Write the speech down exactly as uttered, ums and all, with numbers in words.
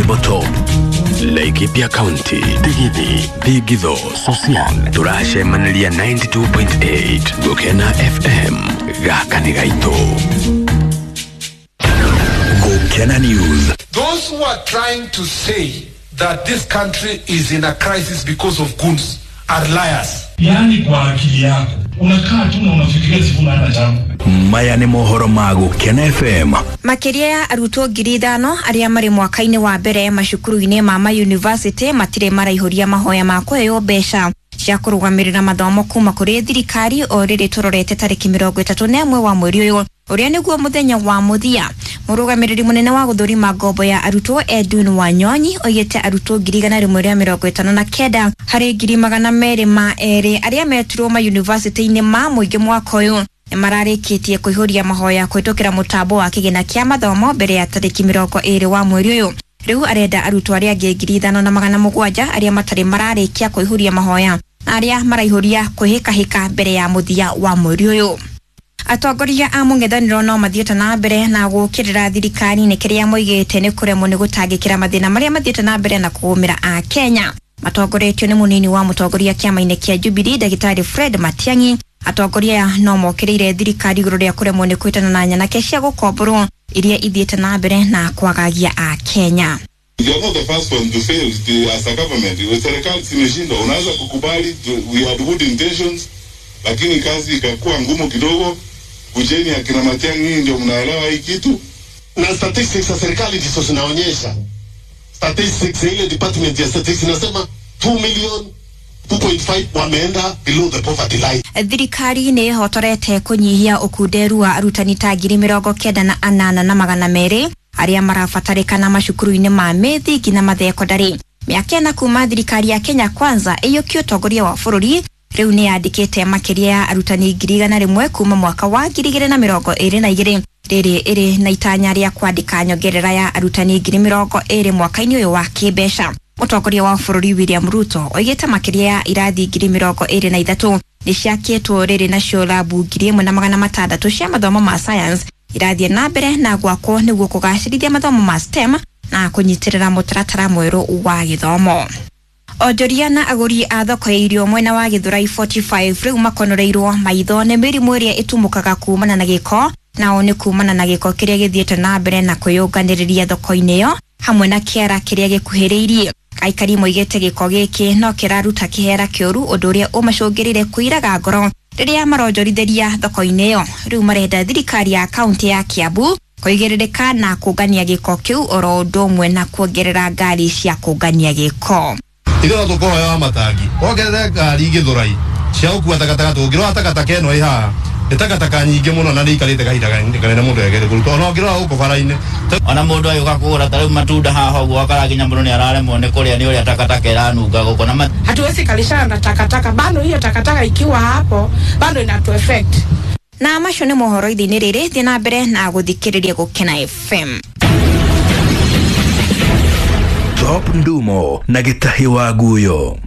Table Top, Laikipia County, Digithi, Thingitho, Sosian, tũracemanĩria ninety-two point eight Gũkena F M, gaka nĩ gaitũ. Gũkena News. Those who are trying to say that this country is in a crisis because of goons are liars. Yani kwa akili yako unakaa tu na unafikiria Sifuna hana jambo. Maya nĩ mohoro ma Gũkena F M. Makĩria ya arutwo ngiri ithano arĩa marĩ mwaka-inĩ wa mbere macukuru-inĩ ma ma university matirĩ maraihũria mahoya ma kũheo mbeca cia kũrũgamĩrĩra mathomo kuma kũrĩ thirikari o rĩrĩ tũrorete tarĩki mĩrongo ĩtatũ na ĩmwe wa mweri ũyũ ũrĩa nĩguo mũthenya wa mũthia. Mũrũgamĩrĩri mũnene wa gũthũrima ngombo ya arutwo Edwin Wanyonyi oigĩte arutwo ngiri igana rĩmwe rĩa mĩrongo ĩtano na kenda harĩ ngiri magana merĩ ma erĩ arĩa metirwo ma university-inĩ ma mũingĩ mwaka ũyũ nĩmararĩkĩtie kũihũria mahoya kũhĩtũkĩra mũtambo wa kĩgĩna kĩa mathomo mbere ya tarĩki mĩrongo ĩrĩ wa mweri ũyũ. Rĩu arenda arutwo arĩa angĩ ngiri ithano na magana mũgwanja arĩa matarĩ mararĩkia kũihũria mahoya na arĩa maraihũria kwĩhĩkahĩka mbere ya mũthia wa mweri ũyũ. Atongoria a mũng'ethanĩro no mathiĩte na mbere na gũũkĩrĩra thirikari nĩ kĩrĩa moigĩte nĩ kũremwo nĩ gũtangĩkĩra mathĩna marĩa mathiĩte na mbere na kũgũmĩra a Kenya. Matongoretio nĩ mũnini wa mũtongoria kĩama-inĩ kĩa Jubilee Ndagĩtarĩ Fred Matiang'i. Atongoria aya no mokĩrĩire thirikari igũrũ rĩa kũremwo nĩ kwĩtana na nyanake cia gũkomborwo iria ithiĩte na mbere na kwagagia a Kenya. You are not the first one to fail the, as a government. Serikali zimeshindwa, unaweza kukubali we had good intentions, lakini kazi ikakuwa ngumu kidogo. Kujeni akina Matiang'i ndio mnaelewa hii kitu. Na statistics za serikali ndizo zinaonyesha. Statistics ile department ya statistics inasema two million two point five wameenda below the poverty line. Thirikari nĩ ĩhotorete kũnyihia ũkunderu wa arutani ta ngiri mĩrongo kenda na anana na magana merĩ arĩa marabatarĩkana macukuru-inĩ ma mĩthingi na mathekondarĩ. Mĩaka ĩna kuma thirikari ya Kenya Kwanza ĩiyũkie ũtongoria wa bũrũri rĩu nĩ yandĩkĩte makĩria ya arutani ngiri igana rĩmwe kuma mwaka wa ngiri igĩrĩ na mĩrongo ĩrĩ na igĩrĩ rĩrĩ ĩrĩ na itanya rĩa kwandĩka nyongerera ya arutani ngiri mĩrongo ĩrĩ mwaka-inĩ ũyũ wa kĩmbeca. Mũtongoria wa bũrũri William Ruto oigĩte makĩria ya irathi ngiri mĩrongo ĩrĩ na ithatũ nĩ ciakĩtwo rĩrĩ nacio labu ngiri ĩmwe na magana matandatũ cia mathomo ma science irathiĩ na mbere na gwakwo nĩguo kũgacĩrithia mathomo ma STEM na kũnyitĩrĩra mũtaratara mwerũ wa gĩthomo. Onjoria na agũri a thoko ya irio mwena wa Githurai forty-five rĩu makonoreirwo maitho nĩ mĩrimũ ĩrĩa ĩtumũkaga kumana na gĩko, nao nĩ kumana na gĩko kĩrĩa gĩthiĩte na mbere na kwĩyũnganĩrĩria thoko-inĩ ĩyo hamwe na kĩara kĩrĩa gĩkuhĩrĩirie. Aikari moigĩte gĩko gĩkĩ no kĩraruta kĩhera kĩũru ũndũ ũrĩa ũmacũngĩrĩire kũiraga ngoro rĩrĩa maronjorithĩria thoko-inĩ ĩyo. Rĩu marenda thirikari ya kaunti ya Kiambu kũigĩrĩrĩka na kũngania gĩko kĩu oro ũndũ ũmwe na kuongerera ngari cia kũngania gĩko. Ithuĩ no tũkũhoya matangi wongerere ngari Githurai cia gũkua takataka tũngĩrora takataka ĩno ĩ haha nĩ takataka nyingĩ mũno na nĩ ikarĩte kahinda kanene mũndũ egere kũruta ona ũngĩrora gũkũ bara-inĩ. Ona mũndũ agĩũka kũgũra ta rĩu matunda haha ũguo akara nginya mũndũ nĩ araremwo nĩ kũrĩa nĩ ũrĩa takataka ĩranunga gũkũ na hatuwezi kalishana na takataka bado hiyo takataka ikiwa hapo bado inatu effect. Na macio nĩ mohoro ithe-inĩ rĩrĩ thiĩ na mbere na gũthikĩrĩria Gũkena F M. Top Ndumo na Gĩtahi wa Guyo.